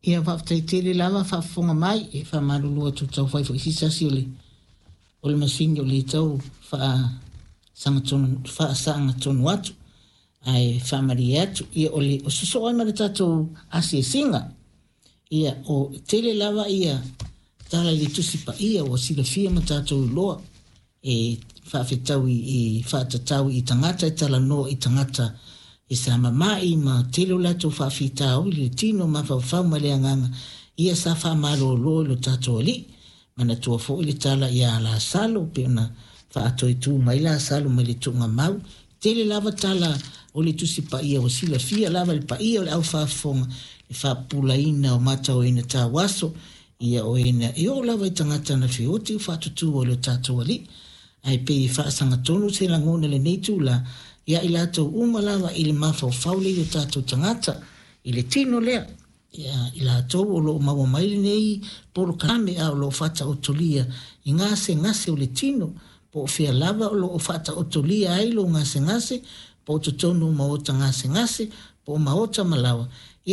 Ia faafetai tele lava faafofoga mai, e faamalulu atu tau fai foi sisasi o le masini o le tau faasagatonu atu, ae faamalie atu ia o le sosoo ai ma le tatou asiasiga. Ia o tele lava ia tala i le Tusi Paia ua silafia ma tatou iloa e faafetau i faatatau i tagata e talanoa i tagata e sa mama'i ma tele o latou faafitauli i le tino, mafaufau ma le agaga. Ia sa faamalolo i lo tatou Alii. Manatua foi le tala ia Lasalo pei ona faatoetu mai Lasalo mai le tuugamau. Tele lava tala o le Tusi Paia ua silafia lava le paia o le aufaafofoga le faapupulaina o matauina tauaso ia o ena e oo lava i tagata na feoti o faatutu o le tatou Alii. Ae pei e faasagatonu se lagona lenei tula ia i latou uma lava i le mafaufau le i o tatou tagata i le tino lea, ia i latou o loo maua mai lenei polokalame a o loo faataotolia i gasegase o le tino, po o fea lava o loo faataotolia ai lo gasegase, po o totonu o maota gasegase po o maota malawa.